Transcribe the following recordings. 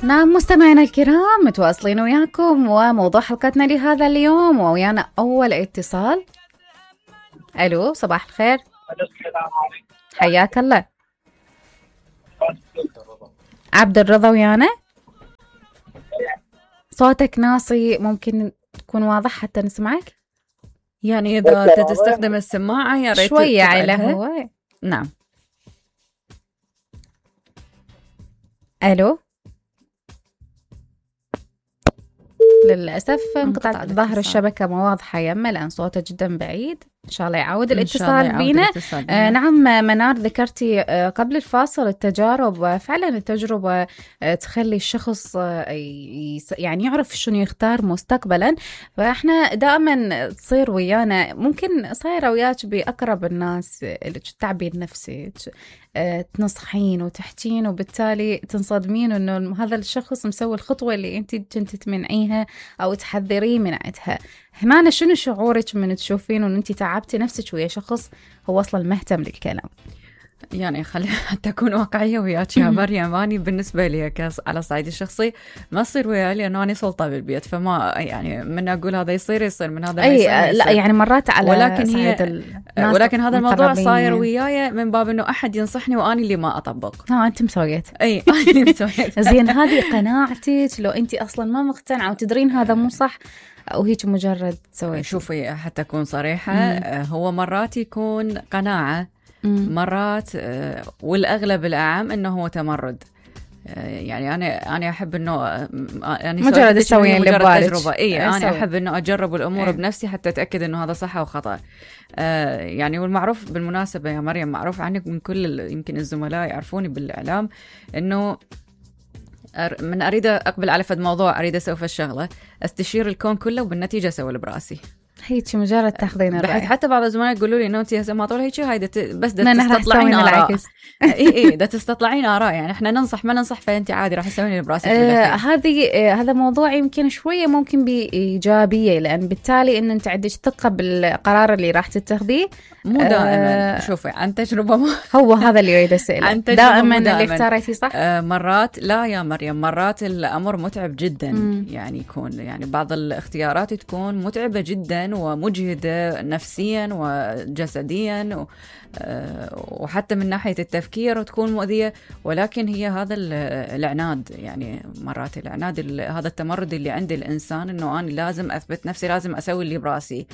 نعم مستمعينا الكرام، متواصلين وياكم وموضوع حلقتنا لهذا اليوم، ويانا أول اتصال. ألو، صباح الخير. حياك الله. عبد الرضا ويانا. صوتك ناصي، ممكن تكون واضح حتى نسمعك؟ يعني إذا تستخدم السماعة يا ريت شوية على هو. نعم. ألو، للأسف انقطعت ظهر الشبكة ما واضحة يمه لأن صوته جدا بعيد. إن شاء الله يعود الاتصال بينا. نعم منار، ذكرتي قبل الفاصل التجارب، فعلا التجربة تخلي الشخص يعني يعرف شنو يختار مستقبلا. فإحنا دائما تصير ويانا، ممكن صايرة وياك بأقرب الناس اللي تعبير نفسي تنصحين وتحتين، وبالتالي تنصدمين انه هذا الشخص مسوي الخطوة اللي انت كنت تمنعيها او تحذريه من عندها. هنا شنو شعورك من تشوفين ان انت تعبتي نفسك ويا شخص هو اصلا مهتم للكلام؟ يعني خلي حتى أكون واقعية وياك يا مريم، أني بالنسبة لي على الصعيد الشخصي ما يصير وياي لأنه أنا سلطة بالبيت، فما يعني من أقول هذا يصير من هذا ما يصير. لا يعني مرات على ولكن هذا الموضوع صاير وياي من باب إنه أحد ينصحني وأني اللي ما أطبق. أنت مسويت. أي أنا اللي مسويت. زين، هذه قناعتك لو أنت أصلا ما مقتنعة وتدرين هذا مو صح، أو هيك مجرد سويت؟ شوفي حتى أكون صريحة، هو مرات يكون قناعة، مرات والأغلب الأعم إنه هو تمرد. يعني أنا أحب إنه يعني مجرد أسوي اللي ببالك. تجربة. أنا أحب إنه أجرب الأمور بنفسي حتى أتأكد إنه هذا صح أو خطأ. يعني والمعروف بالمناسبة يا مريم، معروف عنك من كل يمكن الزملاء يعرفوني بالإعلام إنه من أريد أقبل على فد موضوع، أريد أسوي الشغلة أستشير الكون كله وبالنتيجة أسوي براسي. هيك مجرد تاخذين الرأي. حتى بعض الزملاء يقولوا لي انه انت ما طول هيك هاي بس تستطلعين آراء. اي ده تستطلعين آراء، يعني احنا ننصح ما ننصح، فانت عادي راح تسوين براسك. هذا موضوع يمكن شويه ممكن بايجابيه، لان بالتالي ان انت عندك ثقه بالقرار اللي راح تتخذيه. مو دائما. شوفي عن تجربه هو هذا اللي يريد اساله. دائما اللي اختاريتي صح. مرات لا يا مريم، مرات الامر متعب جدا. يعني يكون يعني بعض الاختيارات تكون متعبه جدا ومجهدة نفسيا وجسديا وحتى من ناحية التفكير، وتكون مؤذية. ولكن هي هذا العناد، يعني مرات العناد هذا التمرد اللي عند الإنسان، إنه أنا لازم أثبت نفسي، لازم أسوي اللي براسي.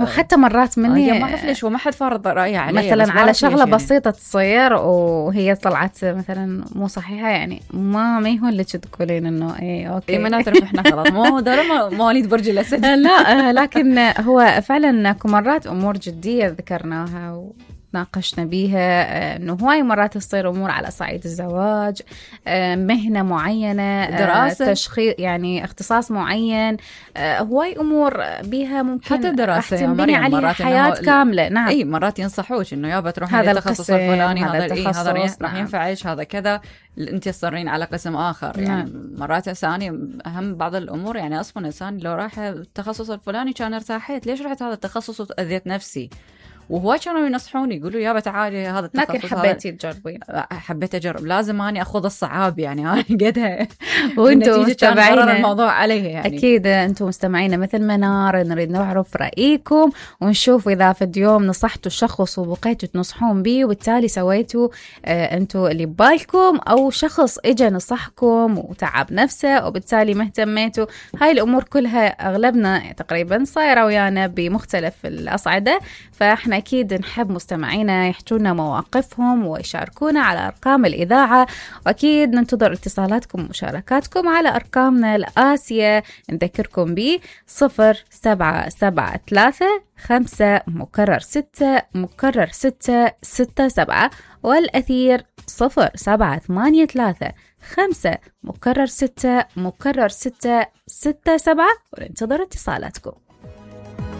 وحتى مرات مني ما أعرف ليش وما حد فرض رأيه علي مثلا على شغلة بسيطة تصير وهي طلعت مثلا مو صحيحة، يعني ما يهون لك تقولين إنه إيه أوكي ما نعترف إحنا خلاص مو دار مواليد برج الأسد. لا لكن هو فعلا أكو مرات أمور جدية ذكرناها ناقشنا بيها، انه هواي مرات تصير امور على صعيد الزواج، مهنه معينه، دراسه، تشخيص يعني اختصاص معين، هواي امور بيها ممكن حتى دراسه يا مريم عليها حياه كامله. نعم اي مرات ينصحوك انه يابا تروحين للتخصص الفلاني، هذا راح ينفعك، هذا كذا، انت تصرين على قسم اخر. يعني مرات ثاني اهم بعض الامور، يعني اصلا انسان لو راح التخصص الفلاني كان ارتاحيت، ليش رحت هذا التخصص وأذيت نفسي؟ وهو كانوا ينصحوني يقولوا يابا تعالي هذا التخصص. لكن حبيتي تجربين؟ حبيت أجرب، لازم أني أخوض الصعاب، يعني أنا قدها وانتم مستمعين الموضوع عليه. يعني أكيد أنتم مستمعين مثل منار نريد نعرف رأيكم ونشوف إذا في اليوم نصحتوا الشخص وبقيتوا تنصحون به وبالتالي سويتوا أنتم اللي ببالكم، أو شخص إجا نصحكم وتعب نفسه وبالتالي ما اهتميتوا. هاي الأمور كلها أغلبنا تقريبا صايرة ويانا بمختلف الأصعدة، فإحنا أكيد نحب مستمعينا يحجونا مواقفهم ويشاركونا على أرقام الإذاعة، وأكيد ننتظر اتصالاتكم ومشاركاتكم على أرقامنا الآسية نذكركم ب 0773 5 6 والأثير 0783 5 6 وننتظر اتصالاتكم.